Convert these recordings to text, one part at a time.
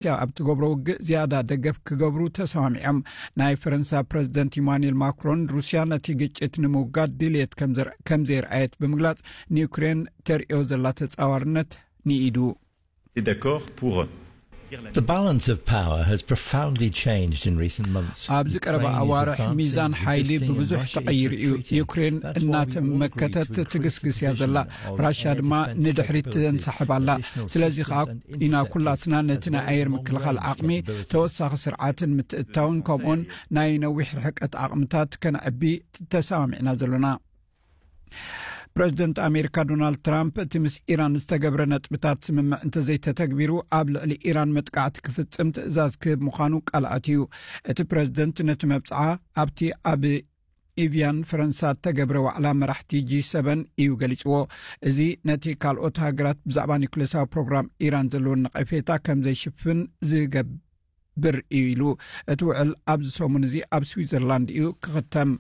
ሩስያ ኣብ ትገብሮ ውግእ ዝያዳ ደገፍ ክገብሩ ተሰማሚዖም። ናይ ፈረንሳ ፕረዚደንት ኢማኑኤል ማክሮን፣ ሩስያ ነቲ ግጭት ንምውጋድ ድልየት ከም ዘር-፣ ከም ዘየርኣየት ብምግላጽ፣ ንዩክሬን ተርእዮ ዘላ ተጻዋርነት ንኢዱ። Et d'accord pour dire la The balance of power has profoundly changed in recent months. ኣብዚ ቀረባ ኣዋርሕ ሚዛን ሓይሊ ብብዙሕ ተቐይሩ እዩ። ዩክሬን እናተመከተት ትግስግስ እያ ዘላ። ራሽያ ድማ ንድሕሪት ተንሳሕብ ኣላ። ስለዚ ከኣ ኢና ኩላትና ነቲ ናይ ኣየር ምክልኻል ዓቕሚ፣ ተወሳኺ ስርዓትን ምትእትታውን፣ ከምኡውን ናይ ነዊሕ ርሕቀት ዓቕምታት ከነዕቢ ተሰማሚዕና ዘሎና። ፕረዚደንት ኣሜሪካ ዶናልድ ትራምፕ፣ እቲ ምስ ኢራን ዝተገብረ ነጥብታት ስምምዕ እንተዘይተተግቢሩ፣ ኣብ ልዕሊ ኢራን መጥቃዕቲ ክፍጽም ትእዛዝ ክህብ ምዃኑ ቃል ኣትዩ። እቲ ፕረዚደንት ነቲ መብጽዓ ኣብቲ ኣብ ኢቪያን ፈረንሳ እተገብረ ዋዕላ መራሕቲ ጂ ሰቨን እዩ ገሊጽዎ። እዚ ነቲ ካልኦት ሃገራት ብዛዕባ ኒውክሌሳዊ ፕሮግራም ኢራን ዘለወን ነቐፌታ ከም ዘይሽፍን ዝገብር እዩ ኢሉ። እቲ ውዕል ኣብዚ ሰሙን እዚ ኣብ ስዊዘርላንድ እዩ ክኽተም።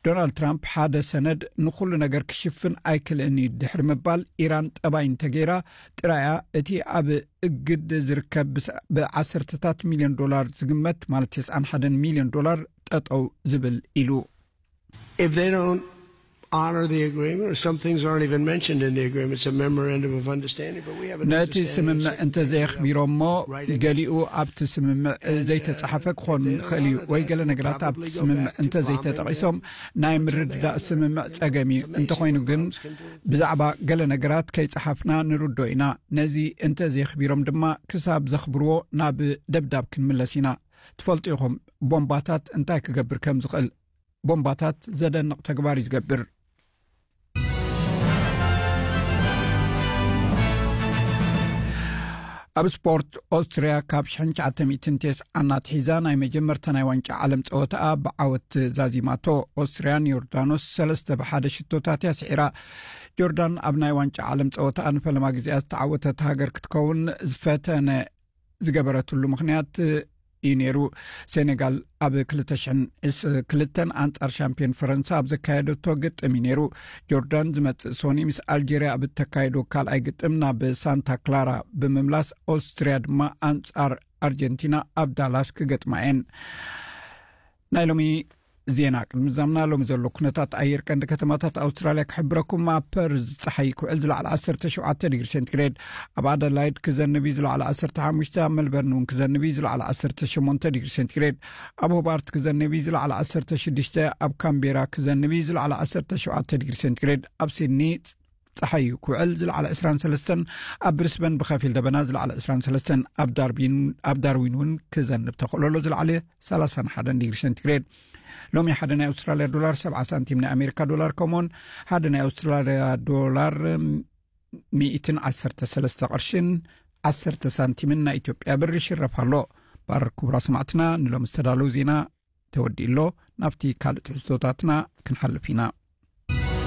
ዶናልድ ትራምፕ፣ ሓደ ሰነድ ንኹሉ ነገር ክሽፍን ኣይክልእን እዩ ድሕሪ ምባል፣ ኢራን ጠባይ እንተገይራ ጥራያ እቲ ኣብ እግድ ዝርከብ ብስ-፣ ብዓሰርተታት ሚልዮን ዶላር ዝግመት፣ ማለት ተስዓን ሓደን ሚልዮን ዶላር ጠጠው ዝብል ኢሉ። If they don't honor the agreement, or some things aren't even mentioned in the agreement, it's a memorandum of understanding, but we have an ነቲ understanding ስምምዕ እንተዘየኽቢሮሞ፣ ገሊኡ ኣብቲ ስምምዕ ዘይተጻሓፈ ክኾን ይኽእል እዩ፣ ወይ ገለ ነገራት ኣብቲ ስምምዕ እንተዘይተጠቒሶም ናይ ምርድዳእ ስምምዕ ጸገም እዩ። እንተኾይኑ ግን ብዛዕባ ገለ ነገራት ከይጸሓፍና ንርዶ ኢና። ነዚ እንተዘየኽቢሮም ድማ ክሳብ ዘኽብርዎ ናብ ደብዳብ ክንምለስ ኢና። ትፈልጡ ኢኹም ቦምባታት እንታይ ክገብር ከም ዝኽእል። ቦምባታት ዘደንቕ ተግባር እዩ ዝገብር። ኣብ ስፖርት፣ ኦስትርያ ካብ ሽሕን ትሽዓተ ሚእትን ተስዓን ኣትሒዛ ናይ መጀመርታ ናይ ዋንጫ ዓለም ጸወታኣ ብዓወት ዛዚማቶ። ኦስትርያ ንዮርዳኖስ ሰለስተ ብሓደ ሽቶታት እያ ስዒራ። ጆርዳን ኣብ ናይ ዋንጫ ዓለም ጸወታኣ ንፈለማ ግዜኣ ዝተዓወተት ሃገር ክትከውን ዝፈተነ ዝገበረትሉ ምኽንያት እዩ ነይሩ። ሴኔጋል ኣብ ክልተ ሽሕን ክልተን ኣንጻር ሻምፒዮን ፈረንሳ ኣብ ዘካየደቶ ግጥም እዩ ነይሩ። ጆርዳን ዝመጽእ ሶኒ ምስ ኣልጀርያ ኣብ እተካየዶ ካልኣይ ግጥም ናብ ሳንታ ክላራ ብምምላስ፣ ኦስትርያ ድማ ኣንጻር ኣርጀንቲና ኣብ ዳላስ ክገጥማ እየን። ናይ ሎሚ ዜና ቅድሚ ዛምና ሎሚ ዘሎ ኩነታት ኣየር ቀንዲ ከተማታት ኣውስትራልያ ክሕብረኩም። ኣብ ፐርዝ ጸሓይ ክውዕል ዝለዓለ ዓሰርተ ሸውዓተ ዲግሪ ሴንቲግሬድ፣ ኣብ ኣደላይድ ክዘንብ እዩ ዝለዓለ ዓሰርተ ሓሙሽተ፣ ኣብ መልበርን እውን ክዘንብ እዩ ዝለዓለ ዓሰርተ ሸሞንተ ዲግሪ ሴንቲግሬድ፣ ኣብ ሆባርት ክዘንብ እዩ ዝለዓለ ዓሰርተ ሽዱሽተ፣ ኣብ ካምቤራ ክዘንብ እዩ ዝለዓለ ዓሰርተ ሸውዓተ ዲግሪ ሴንቲግሬድ፣ ኣብ ሲድኒ ጸሓይ ክውዕል ዝለዓለ ዕስራን ሰለስተን፣ ኣብ ብሪስበን ብኸፊል ደበና ዝለዓለ ዕስራን ሰለስተን፣ ኣብ ዳርቢን፣ ኣብ ዳርዊን እውን ክዘንብ ተኽእሎ ኣሎ ዝለዓለ ሰላሳን ሓደን ዲግሪ ሴንቲግሬድ። ሎሚ ሓደ ናይ ኣውስትራልያ ዶላር ሰብዓ ሳንቲም፣ ናይ ኣሜሪካ ዶላር ከምኡውን ሓደ ናይ ኣውስትራልያ ዶላር ሚእትን ዓሰርተ ሰለስተ ቅርሽን ዓሰርተ ሳንቲምን ናይ ኢትዮጵያ ብር ይሽረፍ ኣሎ። ባር ክቡራ ሰማዕትና፣ ንሎም ዝተዳለዉ ዜና ተወዲኡ ኣሎ። ናብቲ ካልእ ትሕዝቶታትና ክንሓልፍ ኢና።